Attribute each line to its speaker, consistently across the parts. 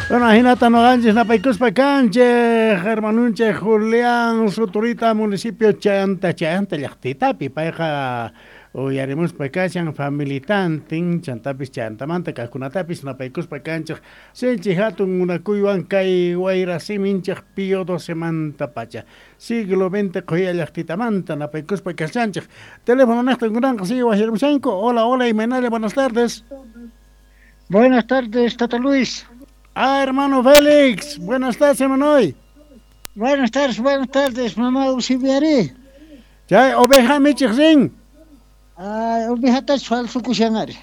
Speaker 1: Bueno, ajinata noqanchis napaykuspa kanchej, hermanunchej Julián Suturita, municipio Chayanta, Chayanta llaqtitapi, payqa uyarimuspa kashan familitantin, chantapis chayantamanta kajkunatapis napaykuspa kanchej, sinchi hatun munakuywan kay wayra siminchej Pío XII pacha, siglo XX qhuya llaqtitamanta napaykuspa kashanchej. Teléfono nejta kunanqa sigue wajyarimushanku. Hola, hola, imaynalla, buenas tardes.
Speaker 2: Buenas tardes, Tata Luis.
Speaker 1: Ah, hermano Félix, buenas tardes, hermano.
Speaker 2: Buenas tardes, mamá Eusebiaré.
Speaker 1: Chay oveja michej rin.
Speaker 2: Ay, ovejatachu falsukushan ari.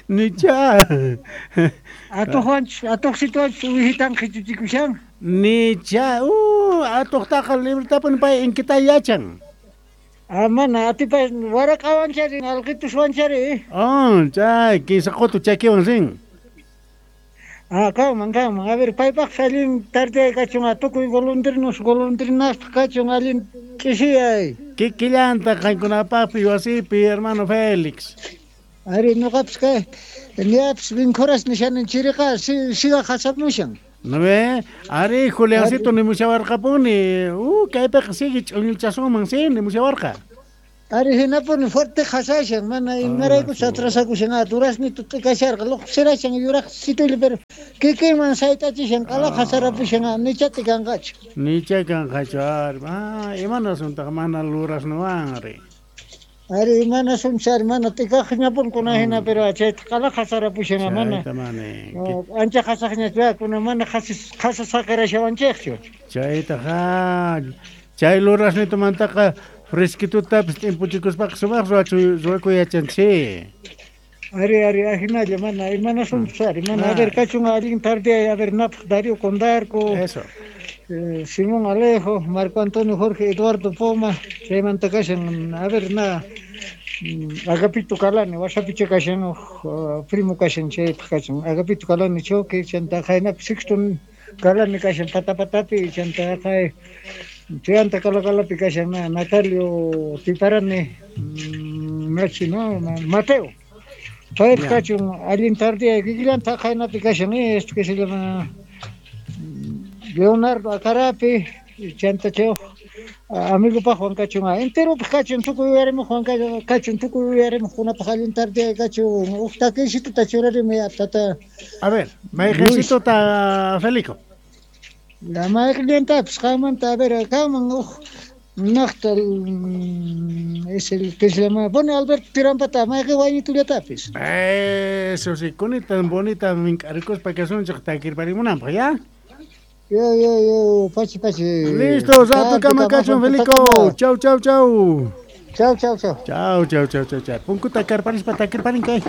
Speaker 1: Nicha.
Speaker 2: Atuqwanchu, atuqsituwanchu ovejitan qhichuchikushan.
Speaker 1: Nicha, atuqtaqa libretapuni pay inkita yachan.
Speaker 2: Ah, mana, atipa waraqawanchari, alqituswanchari.
Speaker 1: Oh, chay, kinsa qutu chakiwan rin.
Speaker 2: Ah, kanman, kanman. A ver, paypaq allin tarde kachun, tukuy golondrinos, golondrinaspa kachun, allin ch'isiyay.
Speaker 1: Kikillanta qankunapaqpi wasipi, hermano Félix.
Speaker 2: Ari, noqapis kay, ñapis vincuras nishanin chiriqa, siga qasamushan.
Speaker 1: ¿No ve? Ari, Juliancito nimushawarqapuni. Kaypiqa sigue ch'uñuchasunman, sí, nimushawarqa.
Speaker 2: Ari, hinapuni fuerte qasashan, mana imaraykuchus atrasakushan, durasnito t'ikasharqa, luqsirashan yuraq situyli, pero kikinman sayt'achishan, q'ala qasarapushan, nichati kanqachu.
Speaker 1: Nicha kanqachu, ari, ah, imanasuntaq mana lurasnuwanri.
Speaker 2: Ari, imanasunchis, ari, mana t'ikaqñapuni kuna hina, pero chayta q'ala qasarapushan, mana.
Speaker 1: Chayta mani.
Speaker 2: Ancha qasaqñachu, kuna mana qasa saqirashawanchikchu.
Speaker 1: Chaytaqa, chay lurasnitumantaqa fresquitutapis t'impuchikuspaqa sumaq ruwakuy yachanchik.
Speaker 2: Ari, ari, ajinalla, mana, imanasunchis, ari, mana, a ver, kachun allin tarde, a ver, napaq Darío Condarco.
Speaker 1: Eso.
Speaker 2: Simón Alejo, Marco Antonio Jorge Eduardo Poma, chaymanta kashan, a ver, na, Agapito Calani, wasapicha kashan, primo kashan, chaypaq kashan, Agapito Calani Choque, chanta jaynapi Sixto Calani kashan, patapatapi, chanta jay, chayanta Calacalapi kashan, na, Natalio Tiparani, Nachi, no, Mateo. Paypaq kachun, allin tarde, kikillanta jaynapi kashan, esto que se llama Leonardo Acarapi, chanta chay amigo Juan kachun, enteropaq kachun, tukuy uyarimuq Juan kachun, tukuy uyarimuqkunapaq allin tarde kachun, uj takisituta churarimi, tata.
Speaker 1: A ver, mayqisituta, Felico.
Speaker 2: La mayqillantapis qanmanta, a ver, kanman uj naqta, es el que se llama, bueno, Alberto Tirampata, mayqi wañitullatapis.
Speaker 1: Eso sí, kunita bonita mink'arikuspa kasunchik takirparimunanpaq, ¿ya?
Speaker 2: Yo, yo, yo, pachi, pachi.
Speaker 1: Listo, rato kama kachun, Felico. Chau, chau, chau.
Speaker 2: Chau, chau, chau.
Speaker 1: Chau, chau, chau, chau, chau. Punkuta karparispa takirparin kay.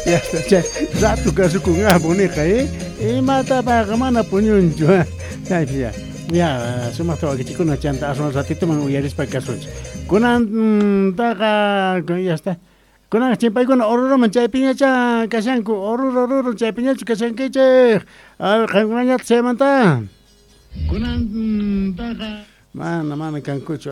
Speaker 1: Ya está, chay. Rato kasukun boniqa, ¿eh? Imatapaqa mana puñunchu, Ay, ya. Ya, sumaqta wakichikuna chanta aswan ratituman uyarispa kasunchik. Kunan taqa, ya está. Kunan chimpaykuna Oruroman chaypiñacha kashanku, Oruro, Oruro chaypiñachu kashankichik. A ver, qankunañataq chaymanta. Kunan taqa mana, mana kankuchu.